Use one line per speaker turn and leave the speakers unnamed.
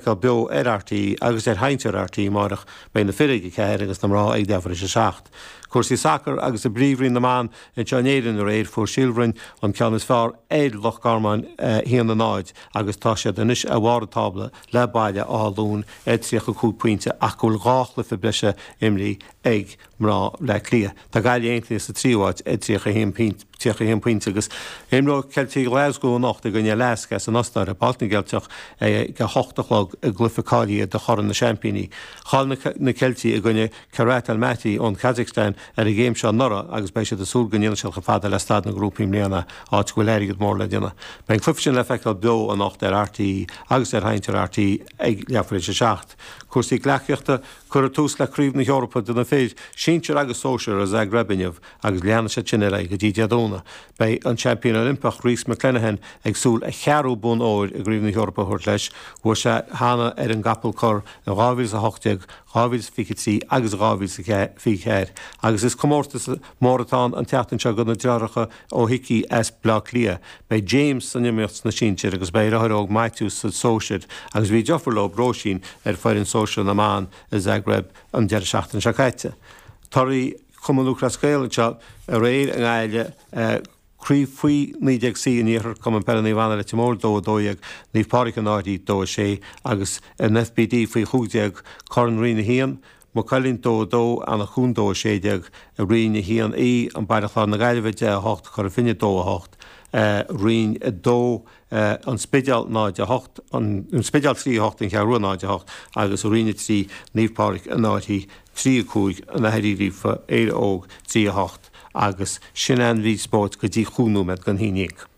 Feiceáil beo ar RTÉ agus ar Sheinnteoir RTÉ amárach. Beidh na fir ag a 4 agus na mná ag leathuair tar éis a 7. Cúrsaí sacair agus i bPríomhroinn na mBan anseo in Éirinn aréir fuair Síol Bhroin an ceann is fearr ar Loch Garman 1-0 agus tá siad anois ar bharr an tábla le Baile Átha Luain ar 35 pointe ach go bhfuil dhá chluiche breise imrithe ag mná Bhleá Cliath. Tá Gaillimh Aontaithe sa tríú háit ar 31 pointe agus imreoidh Ceiltigh Ghlaschú anocht i gcoinne Lask as an Ostair i bPáirc na gCeilteach ag a hocht a chlog i gcluiche cáilithe do Chorn na Seaimpíní. Chaill na Ceiltigh i gcoinne Kairat Almaty ón Kazakhstan ar an gcéim seo anuraidh agus beidh siad ag súil go ndéanfaidh siad chomh fada le staid na ngrúpaí i mbliana, áit go bhfuil airgead mór le déanamh. Beidh an cluiche sin le feiceáil beo anocht ar RTÉ agus ar Sheinnteoir RTÉ ag leathuair tar éis a 7. Cúrsaí gleacaíochta. Cuireadh tús le Craobh na hEorpa do na fir, sinsir agus sóisir i Zagreb inniu agus leanfaidh siad sin ar aghaidh go dtí Dé Domhnaigh. Beidh an seaimpín Oilimpeach Rhys McClenaghan ag súil a cheathrú bonn óir i gCraobh na hEorpa a thabhairt leis. Bhuaigh sé cheana ar an gcapall corr in 2018, 2023 agus 2024 agus is comórtas mór atá ann an tseachtain seo do na deartháireacha Ó hIcí as Bleá Cliath. Beidh James san iomaíocht sna sinsir agus beidh a dheartháir óg Maitiú sa sóisir agus bhí deirfiúr leo, Róisín, ar foireann sóisir na mban i Zagreb an deireadh seachtaine seo caite. Torthaí Chumann Lúthchleas Gael anseo aréir i nGaillimh, Craobh Faoi 19C an Iarthair, Cumann Peile Naomh Anna Leitir Móir 2 12, Naomh Pádraig an Fhairche 2 6 agus an FBD Faoi 15, Corn Roinn 1, Maigh Cuilinn 2 2, Eanach Dhúin 2 16, Roinn 1E, An Baile Chláir na Gaillimhe 10 8, Cora Finne 2 8, Roinn 2, An Spidéal 0 8, An Spidéal 3 8, An Cheathrú Rua 0 8 agus Roinn 3, Naomh Pádraig an Fhairche 3 5, An Fhaiche Uí Ghríofa, Éire Óg 3 8 agus sin an mhír spóirt go dtí chúig nóiméad don haon dhéag.